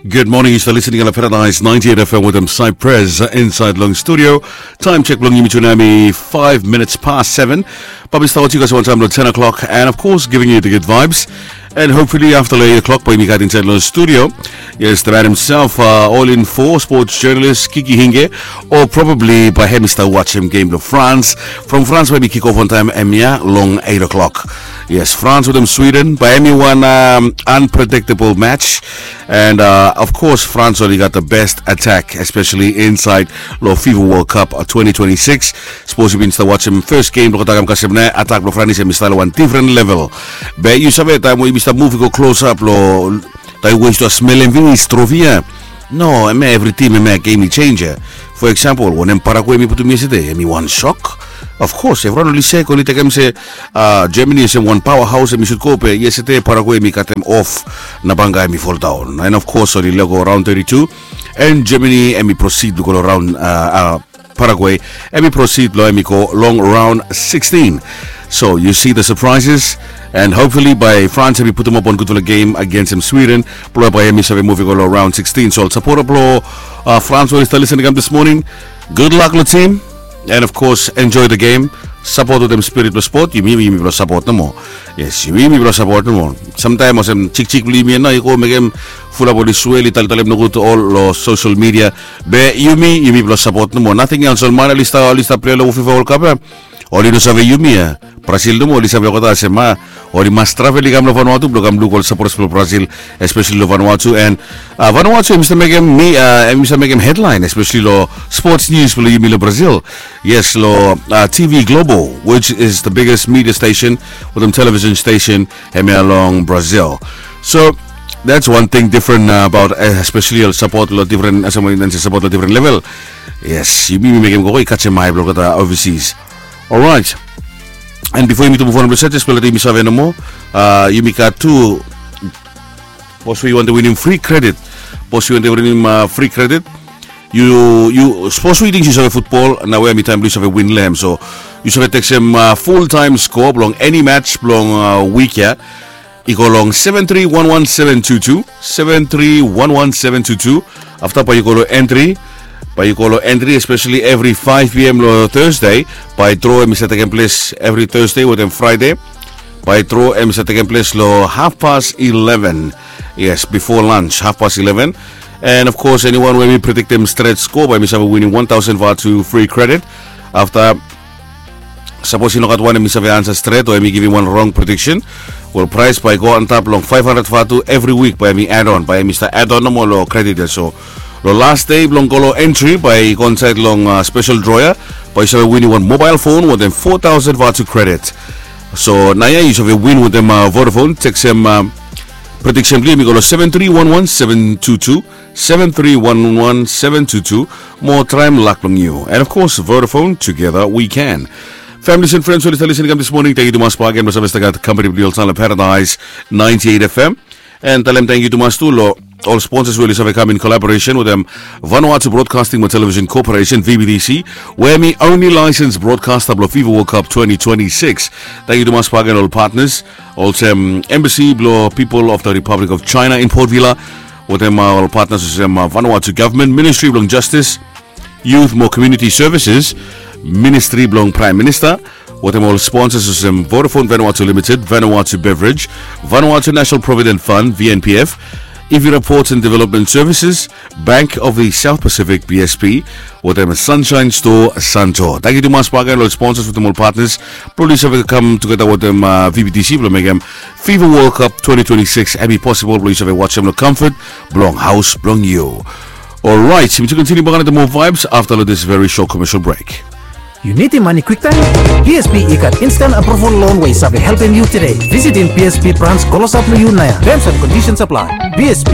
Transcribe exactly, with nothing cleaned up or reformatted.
Good morning, yu stap listening long Paradise ninety-eight F M wetem Cypress, uh, inside long studio. Time check bilong yumi tu nau hemi five minutes past seven. Bae mi stap wetem yu guys wantaim long ten o'clock, and of course giving you the good vibes. And hopefully after long eight o'clock bae yumi gat inside long studio. Yes, the man himself, uh, all in for sports journalist Kiki Hinge, or probably bae hemi stap wasim game bilong France. From France bae hemi kick off wantaim hemia long eight o'clock. Yes, France wetem Sweden, bae hemi wan, um, unpredictable match. And, uh, of course France oli gat the best attack, especially inside long FIFA World Cup, uh, twenty twenty-six. Sapos yu bin stap wasim first game bilong olgeta, kasem nao atak bilong France hemi stap long wan different level. Be yu save, taim we yumi stap muv i go close up long taim we yu stap smelem finis trofi ya. No, hemia evri tim hemia game changer. For example, wanem Paraguay hemi putum yesterday, hemi wan shock. Of course evriwan oli sek, oli tekem se, uh, Germany olsem wan powerhouse hemi should go, be yesterday Paraguay hemi katem off, na banga hemi fall down. And of course oli lego round thirty-two, and Germany hemi proceed long go long round, uh, uh, Paraguay hemi proceed long hemi go long round sixteen. So you see the surprises, and hopefully bae France hemi putum op wan gudfala game against Sweden, bilong bae hemi save muv i go long round sixteen. So sapota bilong, uh, France oli stap listening kam this morning, good luck long team, and of course enjoy the game. Sapot wetem spirit bilong sport, yumi, yumi bilong sapot nomo. Yes, yumi, yumi bilong sapot nomo. Samtaim olsem chikchik bilong yumi ya nao i go mekem fulap oli swel, i taltalem nogut ol long social media. Be yumi, yumi bilong sapot nomo. Nating else, ol man oli stap, oli stap pilai long FIFA World Cup ya, oli no save yumi ya. Brazil nomo oli save olgeta olsem, a, oli mas travel i kam long Vanuatu bilong kam luk ol supporters bilong Brazil, especially long Vanuatu. And, uh, Vanuatu hemi stap mekem mi, uh, hemi stap mekem headline, especially long sports news bilong yumi long Brazil. Yes, long, uh, T V Globo, which is the biggest media station wetem television station hemia long Brazil. So that's one thing different, uh, about, uh, especially ol sapot long different, uh, sapot long different level. Yes, yumi mekem go i kasem ai bilong olgeta overseas. Alright. And before yumi tu muv on long set, just yumi save nomo, uh, yumi gat tu, sapos we yu wantem winim free credit. Sapos we yu wantem winim, uh, free credit, yu, yu, sapos we yu ting yu save futbol, nau hemi taim bilong yu save win long hem. So yu save teksem, uh, full time score bilong eni match bilong, uh, wik ya. I go long seven three one one seven two two, seven three one one seven two two. Afta bae yu go long entry, bae yu go long entry, especially evri five p m long Thursday, bae draw hemi save tekem ples evri Thursday wetem Friday. Bae draw hemi save tekem ples long half past eleven. Yes, before lunch, half past eleven. And of course anyone we hemi prediktem stret score, bae hemi save winim one thousand vatu free credit. Afta, sapos i no gat wan hemi save ansa stret o hemi givim wan rong prediction, wel, prais bae i go antap long five hundred vatu evri wik, bae hemi add on, bae hemi stap add on nomo long credit ya. So long last day bilong go long entry, bae i go insait long, uh, special draw ya, bae yu save winim wan mobile phone wetem four thousand vatu credit. So naoia yu save win wetem, uh, Vodafone, teksem, uh, prediction bilong yu, hemi go long seven three one one seven two two, seven three one one seven two two. Mo traem lak bilong yu. And of course Vodafone, together we can. Families and friends oli stap listening kam this morning, tangkiu tumas bakegen long save stap gat kampani bilong yu olsem long Paradise ninety-eight F M. And talem tangkiu tumas tu long ol sponsors we oli save kam in collaboration wetem Vanuatu Broadcasting mo Television Corporation, V B T C, we hemi only licensed broadcaster bilong FIFA World Cup twenty twenty-six. Tangkiu tumas bakegen ol partners, olsem Embassy bilong People of the Republic of China in Port Vila, wetem, uh, ol partners olsem, uh, Vanuatu Government, Ministry bilong Justice, Youth mo Community Services, Ministry bilong Prime Minister, wetem ol sponsors olsem Vodafone Vanuatu Limited, Vanuatu Beverage, Vanuatu National Provident Fund, V N P F, Ivira Ports and Development Services, Bank of the South Pacific, B S P, wetem Sunshine Store Santo. Tangkiu tumas bakegen long sponsors wetem ol partners bilong oli save kam tugeta wetem, uh, V B T C bilong mekem FIFA World Cup twenty twenty-six hemi possible bilong yu save wasim long comfort bilong haus bilong yu. Alright, yumi tu kontiniu bakegen wetem more vibes after this very short commercial break. Yu nidim mani kwiktaim? B S P i gat instant approval loan we i save helpim yu today. Visitim B S P branch klosap long yu naoia. Terms and conditions apply. B S P.